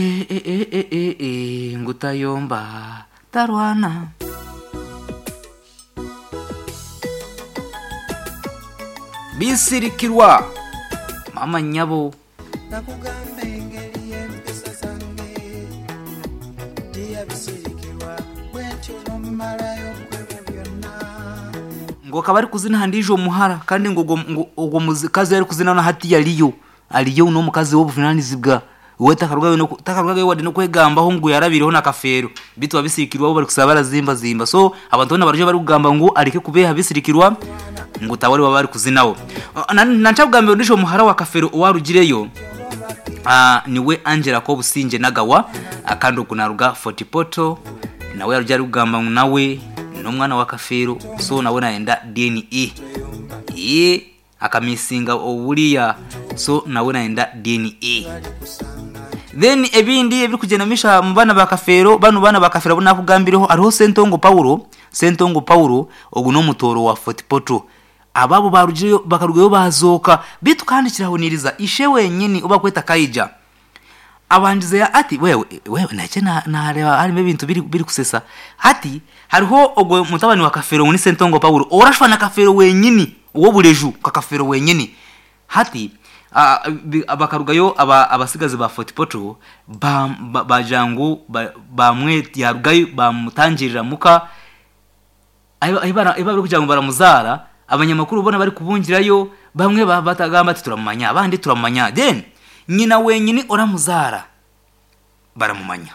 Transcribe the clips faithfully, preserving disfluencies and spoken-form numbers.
E, e, e, e, e, e, ngutayomba tarwana. Bisirikirwa mama nyabo. Nakugamba engeri y'empisa zange tiyabisirikirwa bwentyo nomumalayo kwebyo byonna. Ngo akaba ari kuzina handijo omuhara kandi ngo ogwo- ngo ogwo mukazi ari kuzina na hati yaliyo aliyo n'omukazi w'obuvunanizibwa we takarugayo no takarugayo wadde nokwegambaho ngu yarabireho na kafeero bitu abisirikirwa bo bari kusaba barazimba zimba. So abantu bona baryo bari kugamba ngu areke kubeha bisirikirwa ngu tawari baba bari kuzinawo. Nancakugambira ndisho omuhara wa kafeero owarugireyo. Ah, niwe Angela Kobusinje Nagawa akandi okunaruga Fort Portal nawe yaruja ari kugamba ngu nawe n'omwana wa kafeero, so nawe nayenda D N A ye akamisinga obuliya, so nawe nayenda D N A. Then ebindi ebirikugenda misha mu baana ba kafeero, bano baana ba kafeero abu nakugambireho, hariho Sentongo Paulo. Sentongo Paulo ogu n'omutooro wa Fort Portal. Ababo barugireyo bakarugayo bazooka bitu kandi kirahuniriza ishe wenyini oba kweta kaija abanjize ya ati wewe wewe nakye nareba harimo ebintu biri biri kusesa. Hati hariho ogwo mutabani wa kafeero ngu ni Sentongo Paulo orashwa na kafeero wenyini owobureju ka kafeero wenyini. Hati ah, bi- bakarugayo aba- abasigazi ba Fort Portal ba- ba- bagira ngu ba- bamwe yarugayo bamutangirira muka ahi bari kugira ngo baramuzara. Abanyamakuru bona bari kubungirayo bamwe ba- batagamba ati turamumanya, abandi turamumanya. Then nyina wenyini oramuzara baramumanya.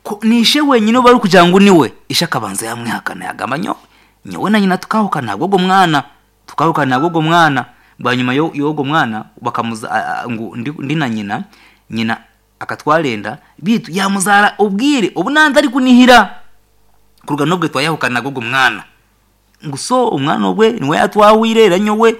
Ko- nishe wenyine bari kugira ngo niwe ishe akabanza yamwihakana yagamba nyowe nyowe na nyina tukahukana ntabwo ogwo mwana tukahukana ntabwo ogwo mwana. Bwanyuma yo y'ogwo mwana bakamuza a- a- ngu ndi, ndi na nyina, nyina akatwarenda bitu yamuzara ubwire ubu nanze ari kunihira kuruga nobwe twayahukana nabwo mwana ngo so umwana ogwe niwe yatwahwire era nyowe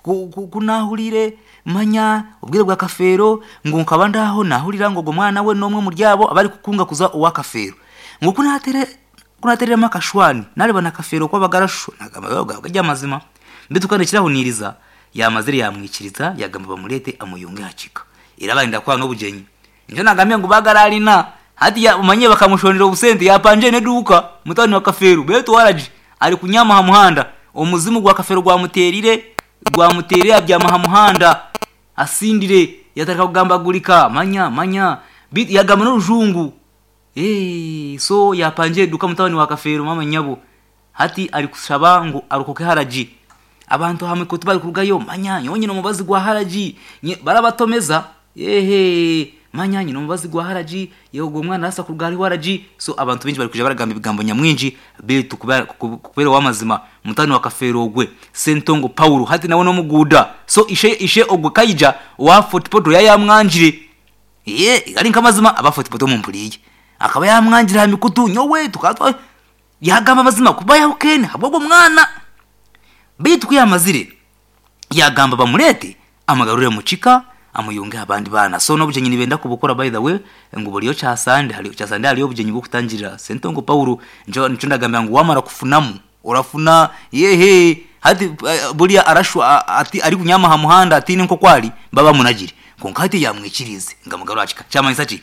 ku- ku- kunahurire manya ubwire bwa kafeero ngo nkaba ndaho nahurira ngo ogwo mwana we n'omwe muryabo abari kukunga kuza owa kafeero ngo kunatere kunatereremu akashwani nareba na kafeero kwabagarashu nagamba gajya amazima mbitu kandi kirahuniriza yamazire yamwikiriza yagamba bamurete amuyunge hakika era barinda kwanga n'obugenyi njo nagambye ngu bagararina hati ya umanye bakamushonera obusente yapanje neduka mutani wa kafeero betu waraji ari kunyama ha muhanda omuzimu gwa kafeero gwamuterire gwamuterire abyama ha muhanda asindire yatarika kugambagurika manya manya Bi- yagamba n'orujungu. Eh, so yapanje eduka mutabani wa kafeero mama nyabo hati ari kushaba ngu arukoke haraji. Abantu hamwe ko bari kurugayo manya nyonyine omubazi gwa haraji. Nye- barabatomeza yehe manya nyine omubazi gwa haraji yewe ogwo mwana arasa kuruga hariho haraji. So abantu bingi bari kuja baragamba ebigambo nyamwingi bitu kubera kubera wamazima mutani wa kafeero ogwe Sentongo Paulo hati nawe n'omuguuda. So ishe ishe ogwe kaija wa Fort Portal yayamwanjire ye ari nkamazima aba Fort Portal mumpuriye akaba yamwangira ha mikutu nyowe tukatwa yagamba amazima kuba yahukene habwo mwana bitu kuyamazire yagamba bamurete amagarure mukika amuyunge abandi bana. So n'obugenyi nibenda kubukora, by the way, ngu buriyo kyasande hariyo kyasande hariyo obugenyi bw'okutangirira Sentongo Paulo. Njo nco ndagambira ngu wamara kufunamu orafuna yehe hati eh, buriya arashwa a- ati ari kunyama ha muhanda atine nko kwali baba munagire konka hati yamwikirize ngamugarura akika kyamanyisa ki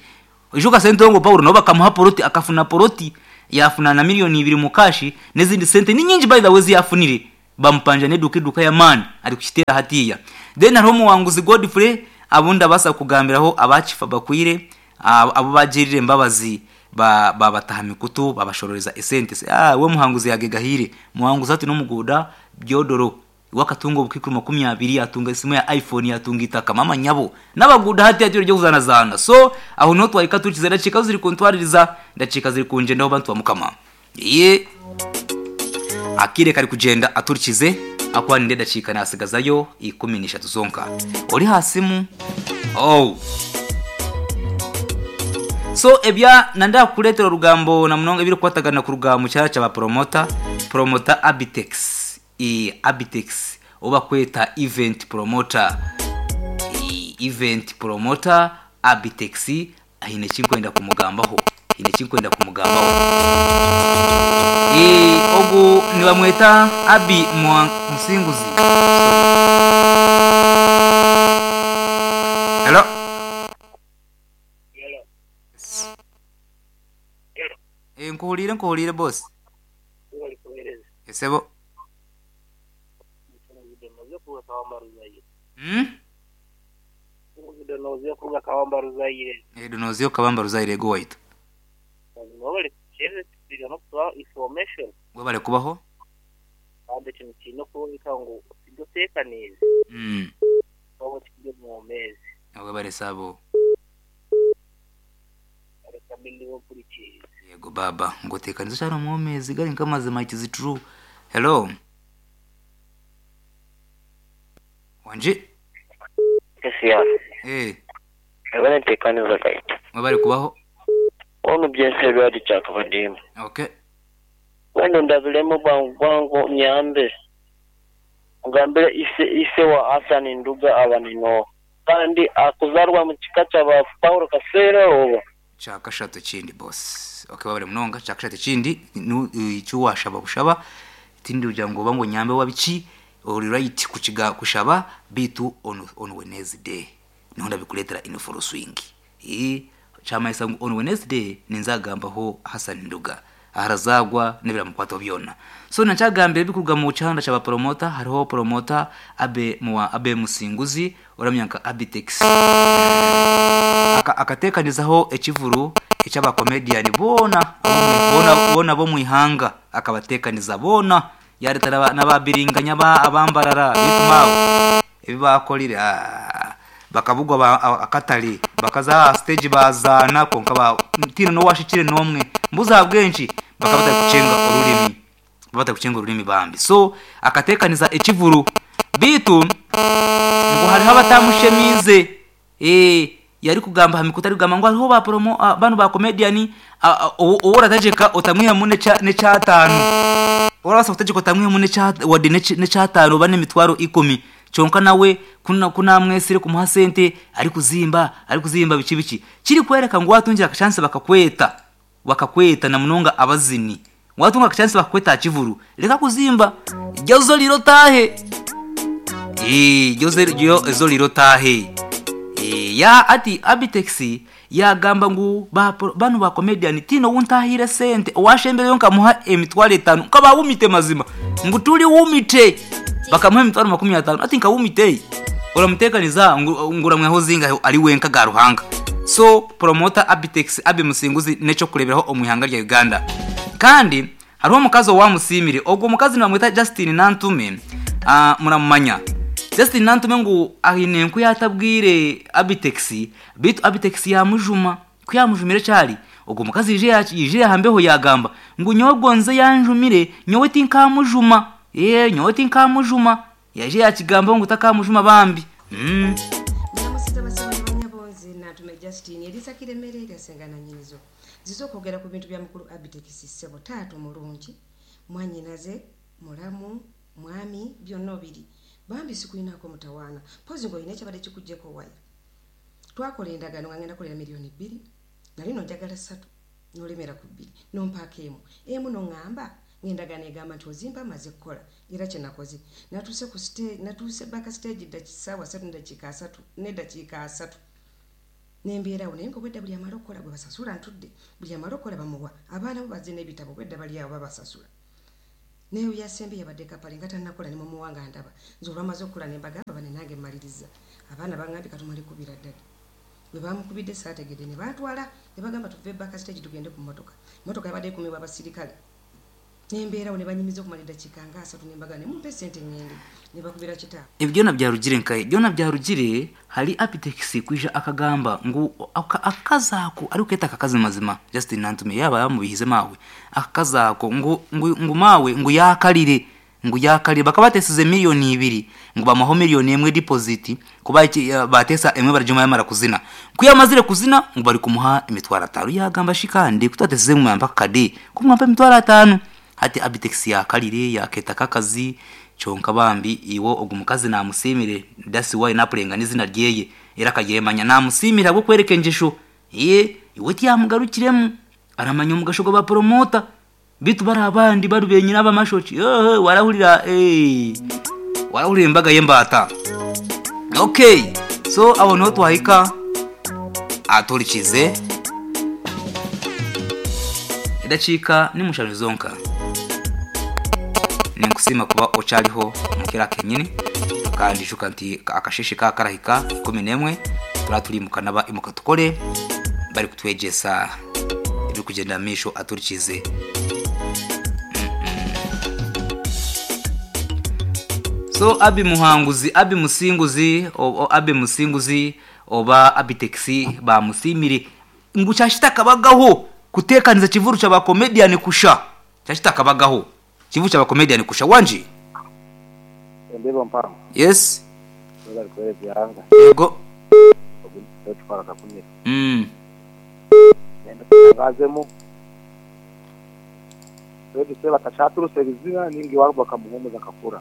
ijuka Sentongo Paulo nabo bakamuha poroti akafuna poroti yafuna na miliyoni ibiri mu kashi n'izindi sente ni nyingi, by the way, ziyafunire bamupanja neduka eduka ya mani ari kukitera hatiya. Then hariho omuwanguzi Godfrey abundi abasa kugambiraho abakifa bakwire abo abo bagirire embabazi ba- babataha mikutu babashororeza esente. Se, ah, we muhanguzi yagegahire muhanguzi ati n'omuguuda byodoro wakatunga obukikuru makumi abiri yatunga esimu ya iPhone yatunga itaka mama nyabo n'abaguda hati hati ryo kuzanazana. So aho niho twahika tukize ndakika ziri kuntwaririza ndakika ziri kunjendaho bantu ba mukama ye akire kari kugenda aturikize akwanire ndakika nasigazayo ikumi n'eshatu zonka ori hasimu oh. So ebya nanda kuretera orugambo na munonga ebiri kukwatagana ku rugambo kyara kyaba promota promota Abitex e Abitex oba kweta event promoter. E, event promoter Abitex ahine kinkwenda kumugambaho hine kinkwenda kumugambaho. E, ogu nibamweta Abi Mwa- Musinguzi. Hello. Eh, nkuhulire nkuhulire boss. Bali kuhereza. Esebo. Noze kuruga Kawamba Ruzaire. Mm? Noze kuruga Kawamba Ruzaire. Eh, Donoziyo Kabamba Ruzaire go waitu. Bali kuhereza tubiga no kutuha information. Webale kubaho. Kandi kintu kirina kuboneka ngu oteekaniize. Mm. Oba kiri mu mezi. Webale sabo. Reka mbi nkurikize. Yego baba, ngotekaniza cyane mu mezi gari nk'amazima it is true. Hello. Wanje? Kesiya, Eh, ebana ntekaniza kaita. webale kubaho. Ono byense byali kyakabadimu. Okay. Wano ndabiremu bwangu bwangu nyambe. Ngambire ise ise wa Hassan Nduga abanino. Kandi akuzarwa mu kika kyaba Paulo Kasere oba. Chakashatu kindi boss. Okay, wabale munonga chakashatu kindi nu icyo washaba bushaba tindi ugira ngo bango nyambe wabiki uri right kukiga kushaba bitu on on Wednesday. Niho ndabikuletera in full swing. Eh, chamaisa ngo on Wednesday ninzagambaho Hassan Nduga. Aharazagwa nibiramukwata byona. So nacyagambire bikuruga mu cyanda cyaba promoter hariho promoter abe muwa abe musinguzi uramyanka Abitex. Aka, akatekanizaho ekivuru eky'abakomedian bona bomwe- bona bona bo mwihanga akabatekaniza bona yareta n'aba- n'ababiringanya ba abambarara bitumabo ebibakolire ah, bakabugwa ba- a- akatale bakaza aha stage bazana konka ba tino no washikire nomwe mbuza bwenshi bakaba batari kucenga ururimi batari kucenga ururimi bambi so akatekaniza ekivuru bitu ngo hariho abatamushemize eh yari kugamba hamikuta ari kugamba ngo hariho ba promo ah, bano ba comedian uwo urategeka utamwiha mune cha necatanu urabasa kutegeka utamwiha mune cha wadi necatanu bane mitwaro ikumi cyonka nawe kuna kunamwesire kumuha sente ari kuzimba ari kuzimba biki biki kiri kwereka ngo watungira akachance bakakweta bakakweta na munonga abazini watunga akachance bakakweta kivuru reka kuzimba jyazo liro tahe Eh, ryo ryo ezo liro tahe Eh, ya ati Abitex yagamba ngu ba bano ba comedian tino wuntahire sente owashembere yo nkamuha emitwaro etanu nkaba wumite mazima ngu tuli wumite bakamuha emitwaro makumi atanu ati nkawumite uramutekaniza ngu nguramweho zinga ari wenka ga ruhanga so promoter Abitex abe musinguzi neco kureberaho omwihanga rya Uganda kandi hariho omukazi owamusimire ogwo mukazi nibamwita Justin Nantume uh, muramumanya Justin Nantume ngu aine enku yatabwire Abitex bitu Abitex yamujuma ku yamujumire cyari ogwo mukazi yije yaci- yije yahambeho yagamba ngu nyowe nze yanjumire nyowe tinkamujuma eh nyowe tinkamujuma yaje yakigamba ngu takamujuma bambi mm. Nyamusiza basaba banyabonzi Nantume Justin Elisa Kiremere eryasenga na nnyinizo zize okwogera ku bintu bya mukulu Abitex ssebo taata omulungi mwannyinaze mulamu mwami byonna obiri bambi sikulinaako mutawaana mpozi ng'olina ekyabadde kikuggyeko waya twakola endagaano nga ngenda kolera miliyoni bbiri nali no njagala ssatu n'olemera ku bbiri nompaako emu emu noŋŋamba ng'endagaano egamba nti ozimpa maze kukola era kye nakoze natuuse ku site- natuuse baka stage ssaawa ssatu neddakiika asatu neddakiika asatu nembeerawo naye nga obwedda buli amala okukola gwe basasula ntudde buli amala okukola bamuwa abaana bo bazze n'ebitabo obwedda bali awo babasasula naye yasembe yabadde kapale nga tannakola ne mumuwa nga ndaba nze olwamaze okukola ne mbagamba bane nange mmaliriza abaana baŋŋambye katumale kubira ddala bwe bamukubidde saategedde ne bantwala ne bagamba tuve baka stage tugende ku mmotoka mmotoka yabadde ekumibwa abasirikale nembeerawo ne banyumiza okumala eddakiika nga asatu ne mbagamba ne mumpe sente ŋŋende ne bakubira kitaabwe ibyo byarugire nkaye byona byarugire hari Abitex kwija akagamba ngu aka- akazako ari uketa akakazi mazima Justin Nantume yaba yamubihize mawe akazako ngu ngu, ngu mawe ngu yakalire ngu yakalire bakabatesize miliyoni ibiri ngu bamuho miliyoni emwe deposit kuba iki- ya- batesa emwe barajuma yamara kuzina kuyamazire kuzina ngu bari kumuha imitwaro atanu yagamba shikandi kutatesize mwamba kade kumwamba imitwaro atanu hati Abitex yakalire yaketa kakazi kyonka bambi iwo ogwo mukazi namusimire that's why napurenga n'izina ryeye era akaryemanya namusimire abwo kwereka engesho ye iwe tiyamugarukiremu aramanya omugasho gwa bapromota bitu bari abandi bari benyine abamashoki yohe warahurira eh warahurira embaga y'embata okay so aho niho twahika aturikize Edakiika ni mushanju zonka. Ninkusiima kuba okyariho mukira kenyini, kandi shuka nti akasheshe ka karahika ikumi n'emwe turaba turi mukanaba imuka tukore bari kutwegyesa ebirikugyenda mu maisho aturikize. So Abi Muhanguzi, Abi Musinguzi, o, o, Abi Musinguzi oba Abitex bamusimire ngu kyashitakabagaho kutekaniza kivuru kya comedian kusha. Kyashitakabagaho kivuru kya comedian kusha wanji. Ndebo mpango. Yes. Bari kwere byanga. Yego. Twara kakumira. Mm. Ngazemo. Rero se batachaturuse bizina ningi wabo bakamuhumuza kakura.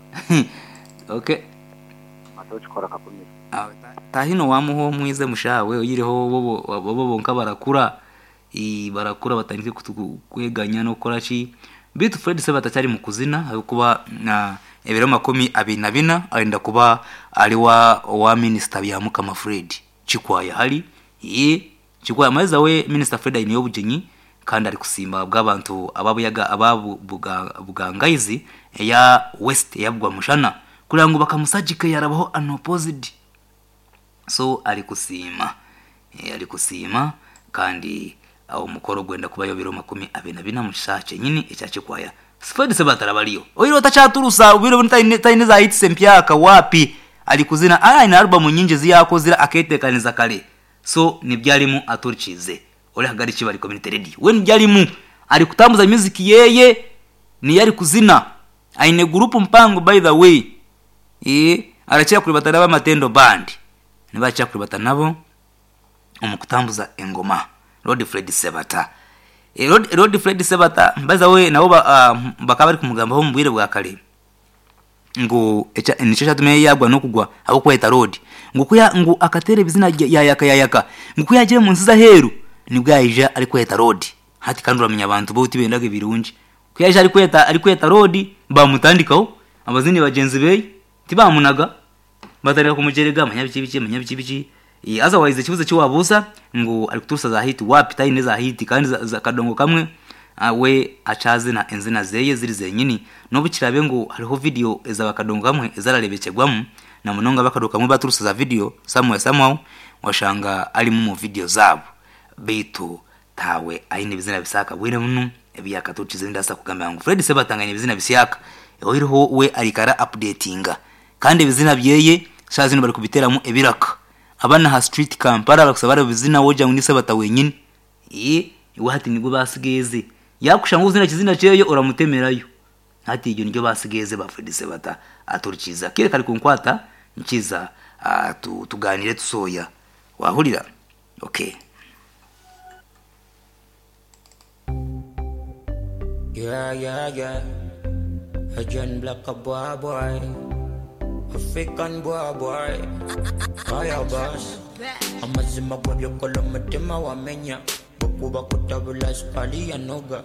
Okay. Atokikora kakumira. Ah, tahino wamuho mwize mushawe oyiriho bobo bobo bonka barakura i barakura batandike kweganya no kora ki bitu. Fred se batacyari mu kuzina kuba na ebiro makumi abiri na bina arenda kuba ari wa wa minister bya Mukama Fred Kikwaya hari ye Kikwaya maza we minister Fred ayiniyo bugenyi kandi ari kusimba bw'abantu ababuyaga ababu bugangaizi ya West yabwa mushana kugira ngo bakamusajike yarabaho unopposed. So ari kusima e, ari kusima kandi awo mukoro gwenda kubayo biro makumi abiri na bina mu kisha nyini ekya Kikwaya. Fred Sebatara baliyo oyiro tachaturusa ubiro taine taine za hits mpyaka wapi ali kuzina ara ina album nyingi ziyakozira aketekaniza kale. So nibyalimu aturikize ori hagari kibari community radio we nibyalimu ari kutambuza music yeye ni yari kuzina aine group mpango by the way eh arachira kuribatana ba Matendo band nibacha kuribatana nabo omukutambuza engoma Lord Fred Sebata. E, Lord, Lord Fred Sebata mbaza we nabo ba, uh, bakaba bari kumugamba ho mubwire bwa kale ngo nico cyatume yagwa no kugwa abo kweta road ngo kuya ngo akatere bizina yayaka yayaka ngo kuyagira mu nsiza heru nibwo yayija ari kweta road hati kandi uramenya abantu bo utibendaga ibirungi kuyaje ari kweta ari kweta road bamutandikaho abazini bagenzi be tibamunaga batarira kumujerega manyabiki biki manyabiki biki. E, otherwise ikibuzo cyo ngo ari kuturusa za hit wapi taine za hit kandi za, za kadongo kamwe uh, we achazina enzina zeye ziri zenyini nobukirabe ngo hariho video eza bakadongo kamwe ezararebekegwamu na munonga bakadoka kamwe baturusa za video somewhere somehow washanga ari mu video zabo bitu tawe aine bizina bisaka bwine muno ebiyakatukize ndasa kugamba ngo Fred Sebatanganye bizina bisaka oyiriho we arikara updatinga kandi bizina byeye shazino bari kubiteramo ebiraka abana ha street Kampala bakusaba bizina woja ngo ni Sebata wenyine eh iwe hati nibwo basigeze yakusha ngo uzina kizina cyeyo uramutemerayo hati ibyo nibyo basigeze ba Fred Sebata aturikiza kire kari kunkwata nkiza uh, tu, tuganire tusoya wahurira. Okay. Yeah, yeah, yeah. A John Black a boy boy. African boy boy. Fire boss. Amazima gwabyo kolo mutima wamenya. Kuba kutabula sukali ya noga.